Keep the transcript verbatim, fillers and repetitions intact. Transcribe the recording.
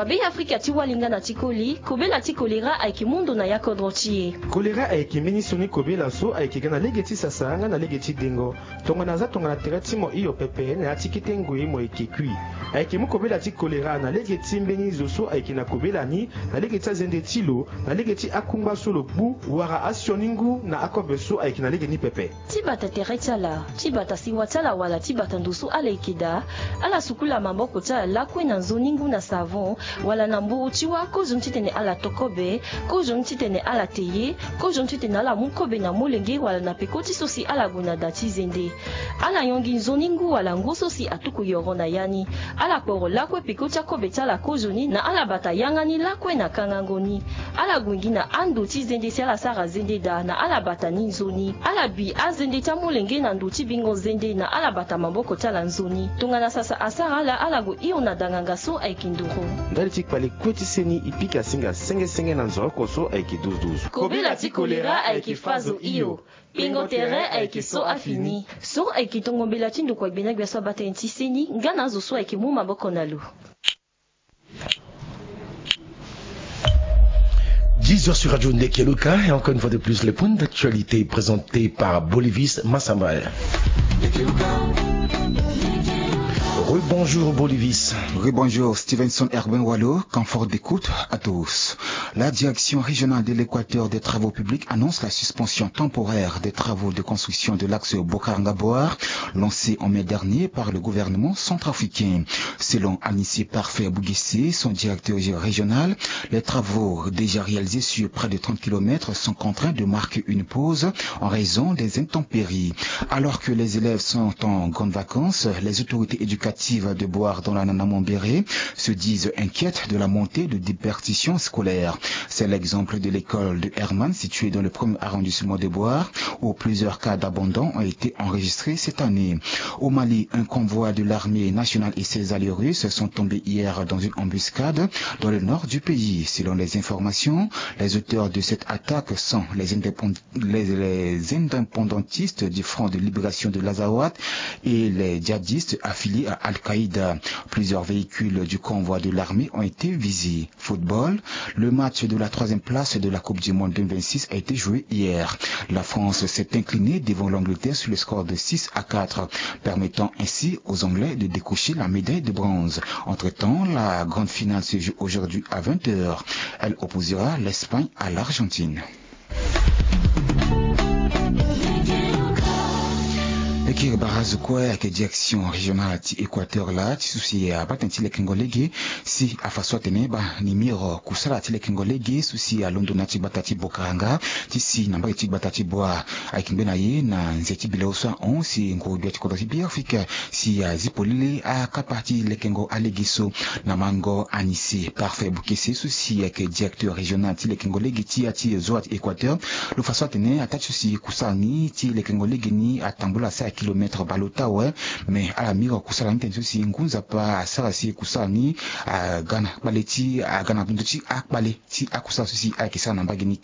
Be Afrika ti walinga na ti koli, kobela ti kolera ayeke mu ndo na ya kodro ti e. Kolera ayeke mbeni sioni kobela so ayeke ga na lege ti sasa nga na lege ti dengo. Tongana aza tongana tere ti mo hio pepe na ya ti kete ngoi mo yeke kui. Ayeke mu kobela ti kolera na lege ti mbeni zo so ayeke na kobela ni, na lege ti azende ti lo, na lege ti akungba so lo gbu, wala asioni ngu na akobe so ayeke na lege ni pepe. Ti bata tere ti ala, ti bata sewa ti ala wala ti bata ndo so ala yeke daa, ala sukula maboko ti ala lakue na nzoni ngu na savon, wala na mburu ti wâ, kozoni titene ala to kobe, kozoni titene ala te ye, kozoni titene ala mu kobe na molenge wala na peko ti so si ala gue na da ti zende. Ala yongi nzoni ngu wala ngu so si atuku yoro na ya ni. Ala kporo lakue peko ti akobe ti ala kozoni na ala bata yanga ni lakue na kangango ni. Ala gue gi na ando ti zende si ala sara zende daa na ala bata ni nzoni. Ala bi azende ti amolenge na ndo ti bingo zende na ala bata maboko ti ala nzoni. Tongana sasa asara ala, ala gue hio na danganga so ayeke nduru. Ndali ti kpale kue ti seni e pika singa senge senge na nzoroko so ayeke duzu duzu. Kobela ti kolera ayeke fa zo hio. Pingo tere ayeke so afini. So ayeke tongo mbela ti ndokua gbena gbia so abata tënë ti seni nga na azo so ayeke mu maboko na lo. Dix heures sur Radio Ndekeluka, et encore une fois de plus, le point d'actualité présenté par Bolivis Massamba. Rebonjour Bolivis. Rebonjour Stevenson Herbin Walo, confort d'écoute à tous. La direction régionale de l'Équateur des travaux publics annonce la suspension temporaire des travaux de construction de l'axe Bokaranga-Boar, lancé en mai dernier par le gouvernement centrafricain. Selon Anissé Parfait Bouguessé, son directeur régional, les travaux déjà réalisés sur près de trente kilomètres sont contraints de marquer une pause en raison des intempéries. Alors que les élèves sont en grandes vacances, les autorités éducatives de Boar dans la Nana Mambéré se disent inquiètes de la montée de déperdition scolaire. C'est l'exemple de l'école de Herman, située dans le premier arrondissement de Boar, où plusieurs cas d'abandon ont été enregistrés cette année. Au Mali, un convoi de l'armée nationale et ses alliés russes sont tombés hier dans une embuscade dans le nord du pays. Selon les informations, les auteurs de cette attaque sont les indépend-, les, les indépendantistes du Front de libération de l'Azawad et les djihadistes affiliés à Al-Qaïda. Plusieurs véhicules du convoi de l'armée ont été visés. Football, le match de la troisième place de la Coupe du Monde deux mille vingt-six a été joué hier. La France s'est inclinée devant l'Angleterre sur le score de six à quatre, permettant ainsi aux Anglais de décrocher la médaille de bronze. Entre-temps, la grande finale se joue aujourd'hui à vingt heures. Elle opposera l'Espagne à l'Argentine. E kiri barazo kue ayeke direction régionale ti Équateur laa ti so si abaa tënë ti lekengo lege si afa so atene baa ni miro kusala ti lekengo lege so si alondo na ya ti gbata ti Bokaranga ti si na mbage ti gbata ti Boar. Ayeke ngbe na ye na nze ti bileo so ahon si nguru gbia ti kodro ti Beafrika si azi polele akapa ti lekengo alege so. Na mango Anissé Parfait Bouguessé so si ayeke directeur régional ti lekengo lege ti ya ti zo wa ti Équateur, lo fa so atene ataa ti so si kusala ni ti lekengo lege ni atambula asara kilomètre baleota awe. Me ala miro kusala ni tënë so si ngu nzapa asara si kusala ni aga na kpale ti aga na ndö ti akpale ti akusala so si ayeke sara na mbage ni.